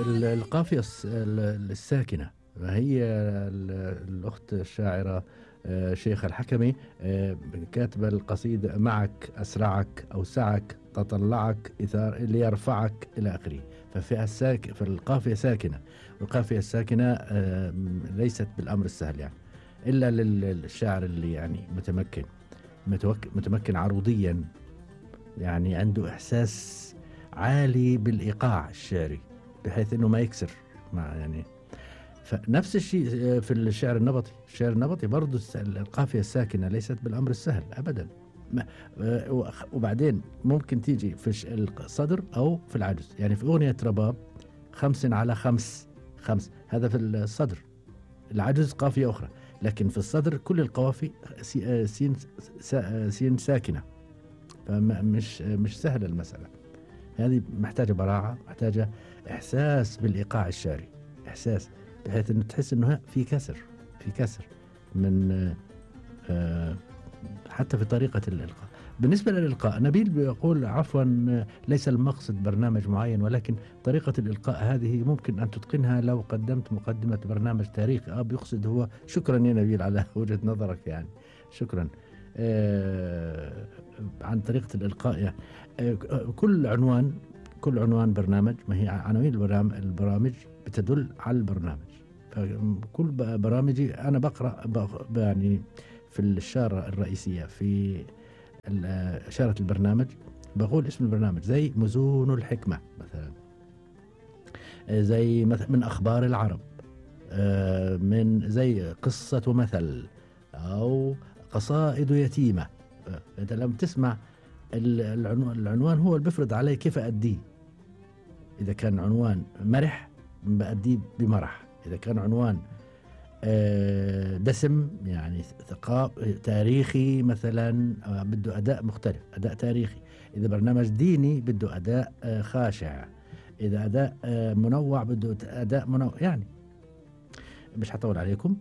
القافية الساكنة، هي الأخت الشاعرة شيخة الحكمي كاتبة القصيدة: معك أسرعك أوسعك تطلعك إثار ليرفعك إلى آخره. فالقافية ساكنة، والقافية الساكنة ليست بالأمر السهل يعني، إلا للشاعر اللي يعني متمكن عروضيا، يعني عنده إحساس عالي بالإيقاع الشعري بحيث أنه ما يكسر يعني. فنفس الشيء في الشعر النبطي. الشعر النبطي برضو القافية الساكنة ليست بالأمر السهل أبدا. وبعدين ممكن تيجي في الصدر أو في العجز. يعني في أغنية رباب 5 على 5 هذا في الصدر، العجز قافية أخرى، لكن في الصدر كل القوافي سين ساكنة. فمش سهلة المسألة هذه، محتاجة براعة، محتاجة إحساس بالإيقاع الشعري، إحساس بحيث أنه تحس أنه في كسر من حتى في طريقة الإلقاء. بالنسبة للإلقاء، نبيل بيقول عفوا ليس المقصد برنامج معين، ولكن طريقة الإلقاء هذه ممكن أن تتقنها لو قدمت مقدمة برنامج تاريخي. بيقصد هو. شكرا يا نبيل على وجهة نظرك يعني، شكرا. عن طريقة الإلقاء يعني. كل عنوان برنامج، ما هي عناوين البرامج بتدل على البرنامج. فكل برامجي أنا بقرأ يعني في الإشارة الرئيسية في إشارة البرنامج بقول اسم البرنامج، زي مزون الحكمة مثلا، زي من أخبار العرب، من زي قصة ومثل، أو قصائد يتيمة. أنت لما تسمع العنوان هو اللي بيفرض علي كيف أديه. إذا كان عنوان مرح بأديه بمرح، إذا كان عنوان دسم يعني تاريخي مثلا بده أداء مختلف، أداء تاريخي. إذا برنامج ديني بده أداء خاشع، إذا أداء منوع بده أداء منوع. يعني مش هطول عليكم،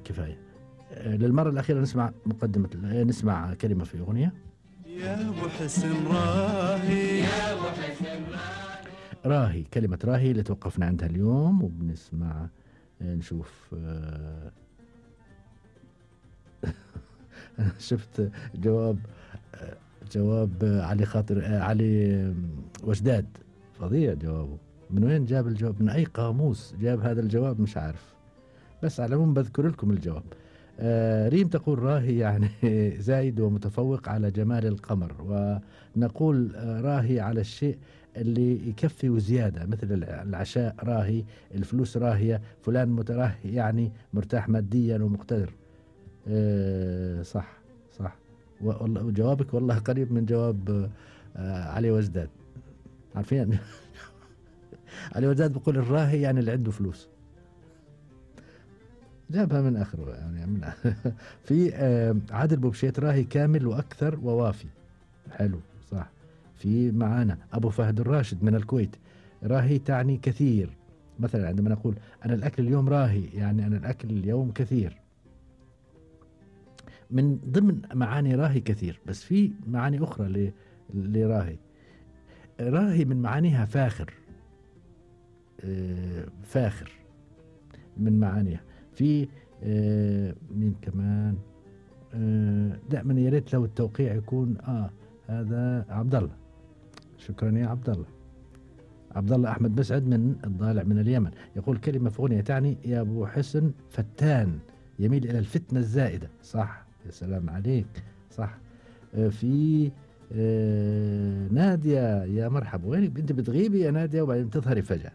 كفاية. للمرة الأخيرة نسمع كلمة في أغنية. يا أبو حسن راهي، يا أبو حسن راهي، كلمة راهي اللي توقفنا عندها اليوم، وبنسمع نشوف. شفت جواب علي وجداد، فظيع جوابه. من وين جاب الجواب؟ من أي قاموس جاب هذا الجواب؟ مش عارف، بس على العموم بذكر لكم الجواب. ريم تقول راهي يعني زايد ومتفوق على جمال القمر، ونقول راهي على الشيء اللي يكفي وزيادة، مثل العشاء راهي، الفلوس راهية، فلان متراهي يعني مرتاح ماديا ومقتدر. صح. وجوابك والله قريب من جواب علي وجداد. عارفين علي وجداد بقول الراهي يعني اللي عنده فلوس، جابها من آخره يعني في عادل بوبشيت راهي كامل وأكثر ووافي. حلو، صح. في معانا أبو فهد الراشد من الكويت، راهي تعني كثير. مثلا عندما نقول أنا الأكل اليوم راهي، يعني أنا الأكل اليوم كثير. من ضمن معاني راهي كثير، بس في معاني أخرى لراهي. راهي من معانيها فاخر، فاخر من معانيها. في مين كمان؟ دائما يا ريت لو التوقيع يكون هذا عبد الله. شكرا يا عبد الله. عبد الله أحمد مسعد من الضالع من اليمن، يقول كلمة في أغنية تعني يا أبو حسن فتان، يميل إلى الفتنة الزائدة. صح، يا سلام عليك، صح. في نادية، يا مرحبا، وينك انت بتغيبي يا نادية وبعدين تظهري فجأة.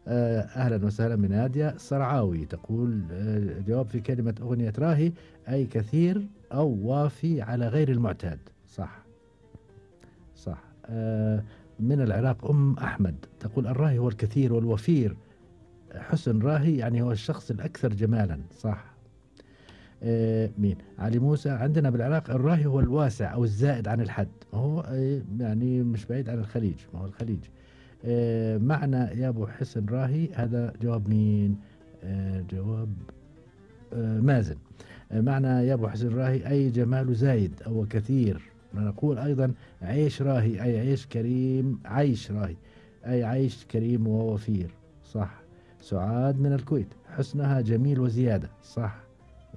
أهلا وسهلا من نادية الصرعاوي، تقول جواب في كلمة أغنية راهي أي كثير أو وافي على غير المعتاد. صح. من العراق أم أحمد تقول الراهي هو الكثير والوفير، حسن راهي يعني هو الشخص الأكثر جمالا. صح. مين؟ علي موسى، عندنا بالعراق الراهي هو الواسع أو الزائد عن الحد، هو يعني مش بعيد عن الخليج، ما هو الخليج. معنى يا أبو حسن راهي، هذا جواب مين؟ جواب مازن. معنى يا أبو حسن راهي أي جمال زايد أو كثير. نقول أيضا عيش راهي أي عيش كريم، عيش راهي أي عيش كريم ووفير، صح. سعاد من الكويت، حسنها جميل وزيادة، صح.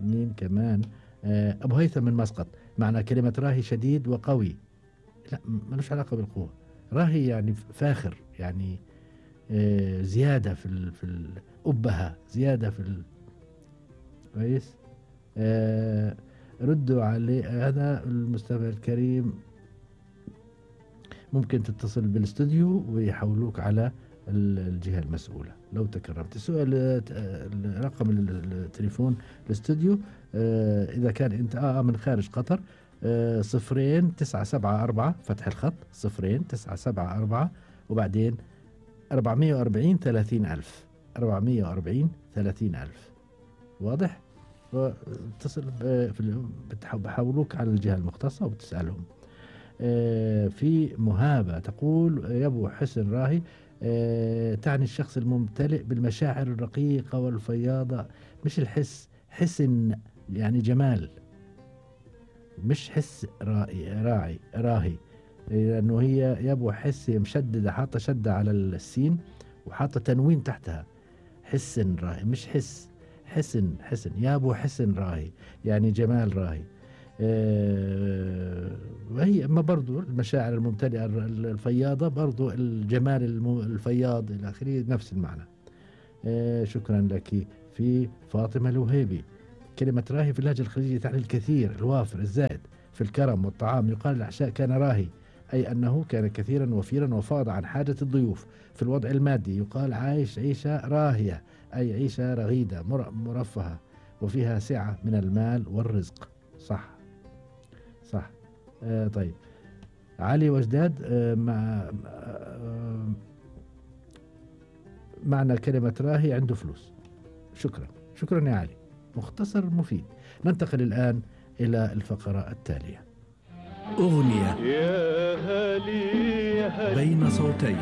مين كمان؟ أبو هيثم من مسقط، معنى كلمة راهي شديد وقوي. لا، ملوش علاقة بالقوة. راهي يعني فاخر، يعني زيادة في الأبهة، زيادة كويس. ردوا عليه. هذا المستمع الكريم ممكن تتصل بالاستوديو ويحولوك على الجهة المسؤولة لو تكرمت. السؤال رقم التليفون الاستوديو إذا كان أنت من خارج قطر 0974 فتح الخط 0974 وبعدين 440 30,000 440 30,000. واضح؟ اتصل بحولوك على الجهة المختصة وبتسألهم. في مهابة تقول يبو حسن راهي تعني الشخص الممتلئ بالمشاعر الرقيقة والفياضة، مش الحس، حسن يعني جمال، مش حس راهي، لأنه هي يبو حس مشددة، حاطة شدة على السين وحاطة تنوين تحتها. حسن راهي مش حس، حسن يابو حسن راهي يعني جمال راهي. وهي أما برضو المشاعر الممتلئة الفياضة برضو الجمال الفياض إلى آخره نفس المعنى. شكرا لك. في فاطمة الوهيبي، كلمة راهي في اللهجة الخليجية تعني الكثير، الوافر، الزائد في الكرم والطعام. يقال العشاء كان راهي، أي أنه كان كثيرا وفيرا وفاض عن حاجة الضيوف. في الوضع المادي يقال عايش عيشة راهية، أي عيشة رغيدة مرفهة وفيها سعة من المال والرزق، صح. طيب علي وجداد معنى كلمة راهي عنده فلوس. شكرا يا علي، مختصر مفيد. ننتقل الآن إلى الفقرة التالية. أغنية يا هلي يا هلي بين صوتين،